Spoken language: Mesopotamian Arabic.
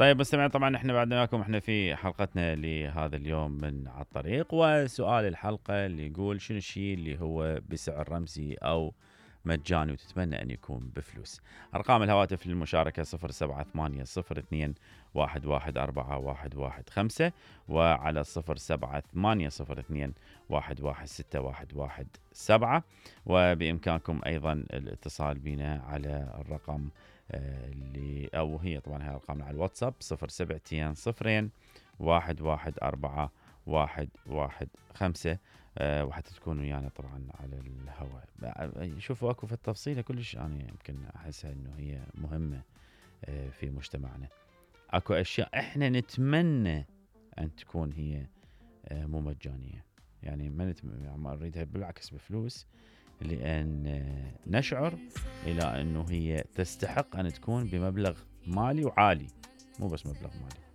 طيب مستمعين، طبعا احنا بعدنا وياكم احنا في حلقتنا لهذا اليوم من على الطريق، وسؤال الحلقة اللي يقول شنو الشيء اللي هو بسعر رمزي او مجاني وتتمنى ان يكون بفلوس. ارقام الهواتف للمشاركة 078002114115 وعلى 078202116117 وبامكانكم ايضا الاتصال بنا على الرقم اللي او هي طبعا هي ارقامنا على الواتساب 0721041115 وحتى تكونوا يعني طبعا على الهواء. شوفوا اكو في التفصيله كلش يعني يمكن احسها انه هي مهمه في مجتمعنا. اكو اشياء احنا نتمنى ان تكون هي مو مجانيه، يعني ما نريدها بالعكس بفلوس، لأن نشعر إلى أنه هي تستحق أن تكون بمبلغ مالي وعالي، مو بس مبلغ مالي.